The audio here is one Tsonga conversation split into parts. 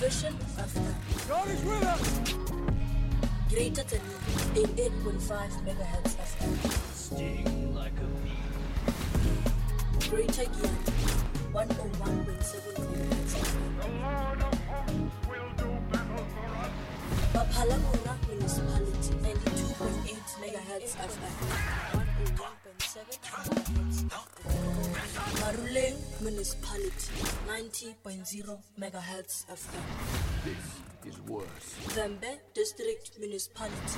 Vision FM. God is with us. Greater Tzaneen, 88.5 megahertz FM. Sting like a bee. Greater Giyani, 101.7 megahertz FM. The Lord of hosts will do battle for us. Baphalabora Municipality, 92.8 megahertz FM. 101.7 megahertz FM. Maruleng Municipality, 90.0 megahertz FM. This is worse. Vhembe District Municipality,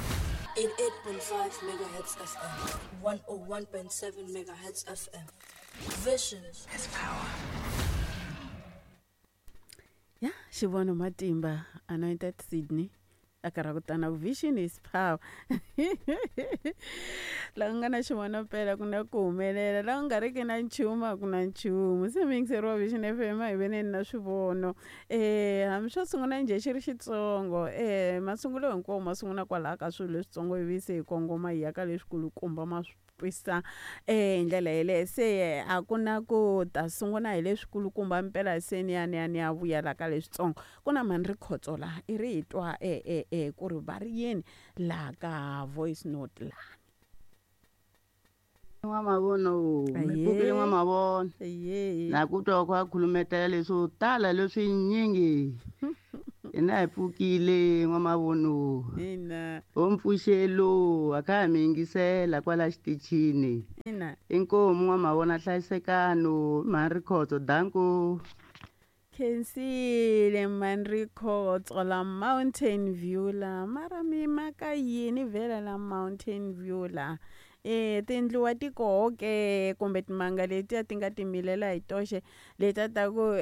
88.5 megahertz FM, 101.7 megahertz FM. Vision is power. Ya xivono matimba anointed Sydney a karha ku tana vision is power. La ku nga na xivono mpela ku na ku humelela, la ku nga ri ki na nchumu a ku na nchumu. Se mi yingiseriwa Vision FM, a hi veneni na swivono. Hambi swo sungula njhe xi ri xitsongo, masungulo hinkwawo ma sungula kwalaha ka swilo leswitsongo ivi se hi kongoma hi ya ka leswikulukumba ma swi twisa hi ndlela yeleyo. Se a ku na ku ta sungula hi leswikulukumba mpela se ni ya ni ya ni ya vuya la ka leswitsongo. Ku na mhani ri khotso laha i ri hi twa ku ri va ri yini laha ka voice note laha. N'wamavono, mi pfukile n'wamavono. Na ku twa ku a khulumetela leswo tala leswinyingi. Hina hi pfukile n'wamavono. Ina. Ho mpfuxelo a kha ha mi yingisela kwala xitichini. Ina. Inkomu n'wamavona hlayisekano mhani Rikhotso danko. Khensile mhani Rikhotso la Mountain View la mara mi maka yini vhela la Mountain View la. Tindluwa ti koho ke kumbe timanga letiya ti nga timilela hi toxe letiya ta ku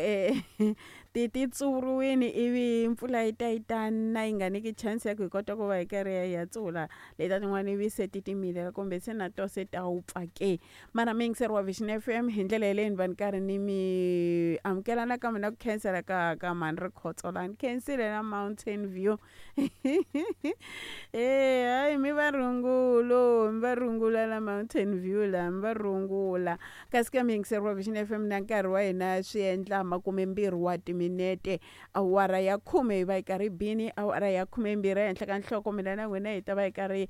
ti ti tsuriwini ivi mpfula yi ta yi ta na yi nga nyiki chance ya ku hi kota ku va hi karhi hi ya tsula letiya tin'wana ivi se ti timilela kumbe se na to se ta wupfa ke. Mara mi yingiseriwa Vision FM hi ndlela yeleyo ni va ni karhi ni mi amukela nakambe na ku khensela ka mhani Rikhotso la ni khensile na Mountain View. Hayi mi va rungula, mi va rungula la Mountain View la, mi va rungula. Kasi ka mi yingiseriwa Vision FM na nkarhi wa hina swi endla 20 wa timinete, awara ya 10 hi va hi karhi bini, awara ya 12 ehenhla ka nhloko mina na n'wina hi ta va hi karhi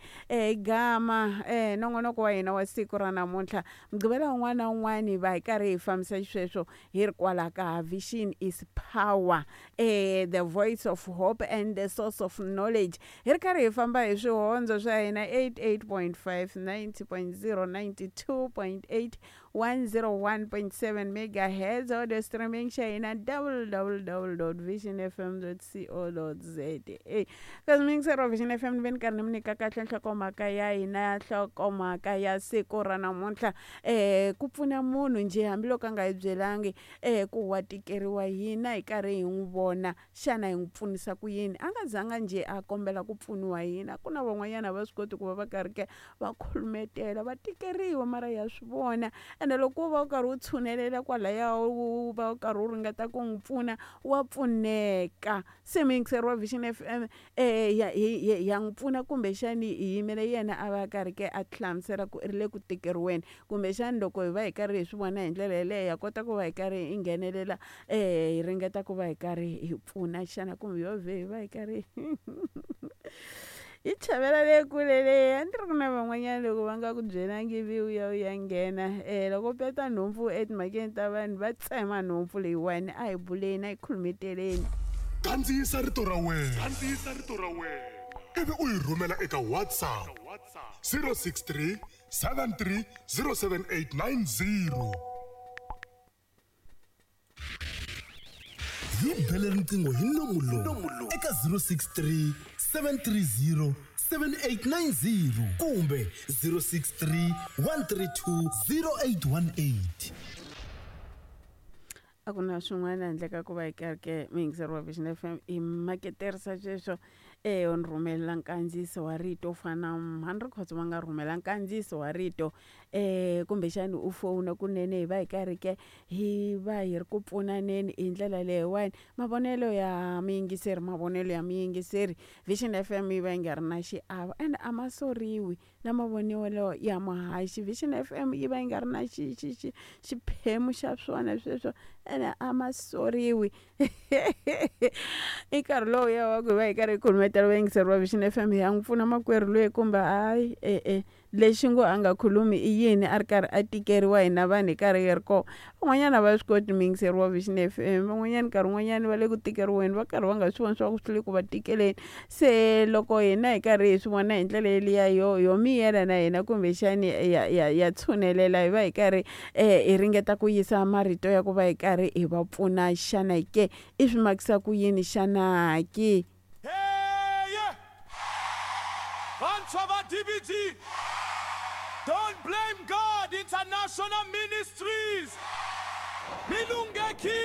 gama nongonoko wa hina wa siku ra namuntlha. Mugqivela wun'wana na wun'wana hi va hi karhi hi fambisa xisweswo hi ri kwala ka Vision is Power, the voice of hope and the source of knowledge. Hi ri karhi hi famba hi swihondzo swa hina 88.5, 90.0, 92.8, 101.7 megahertz, audio streaming xa hina www.visionfm.co.za. Kasi mi yingiseriwa Vision FM ni ve ni karhi ni mi nyika kahle nhlokomhaka ya hina, nhlokomhaka ya siku ra namuntlha. Ku pfuna munhu njhe hambiloko a nga hi byelangi ku wa tikeriwa hina hi karhi hi n'wi vona, xana hi n'wi pfunisa ku yini? A nga zanga njhe a kombela ku pfuniwa hina. Ku na van'wanyana va swi koti ku va va karhi ke va khulumetela, va tikeriwa mara ya swi vona. Ene loko u va u karhi u tshunelela kwalaya u va u karhi u ringeta ku n'wi pfuna, wa pfuneka. Se mi yingiseriwa Vision FM ya n'wi pfuna kumbexani hi yimele yena a va karhi ke a hlamusela ku ri le ku tikeriweni, kumbexani loko hi va hi karhi hi swi vona hi ndlela yeleyo ha kota ku va hi karhi hi nghenelela hi ringeta ku va hi karhi hi pfuna xana kumbe yo vhe hi va hi karhi hi chavela le kule leyi. A ni ri ku na van'wanyana loko va nga ku byelangi ivi u ya u ya nghena loko u peta nhompfu etimhakeni ta vanhu va tsema nhompfu leyiwani. A hi buleni, a hi khulumeteleni. Kandziyisa rito ra wena, kandziyisa rito ra wena ivi u yi rhumela eka WhatsApp 063 73 07890. Hi bele riqingho hi nomu lowu eka 063 730 7890 kumbe 063 132 0818. A ku na swin'wana handle ka ku va hi karhi ke mi yingiseriwa Vision FM i maketerisa sweswo. U ni rhumela nkandziyiso wa rito u fana na Mhani Rikhotso va nga rhumela nkandziyiso wa rito kumbexani u fowuna kunene hi va hi karhi ke hi va hi ri ku pfunaneni hi ndlela leyiwani. Mavonelo ya muyingiseri mavonelo ya muyingiseri Vision FM yi va yi nga ri na xiave ende a ma soriwi na mavonelo ya muhaxi Vision FM yi va yi nga ri na xi xi xi xiphemu xa swona sweswo ene a ma soriwi. I nkarhi lowu ya wa ku hi va hi karhi hi khulumetela vayingiseri va Vision FM hi ya n'wi pfuna makwerhu loyi kumbe hayi e-e lexi ngo a nga khulumi i yini a ri karhi a tikeriwa hina vanhu hi karhi hi ri kona. Van'wanyana a va swi koti muyingiseri wa Vision FM van'wanyana nkarhi wun'wanyana va le ku tikeriweni va karhi va nga swi voni swa ku swi le ku va tikeleni. Se loko hina hi karhi hi swi vona hi ndlela yeliya yo yo miyela na hina kumbexani ya ya ya tshunelela hi va hi karhi hi ringeta ku yisa marito ya ku va hi karhi hi va pfuna xana ke i swi makisa ku yini xana ke? Hey! Vantshwa va DBG, Don't Blame God International Ministries, mi lunghekile!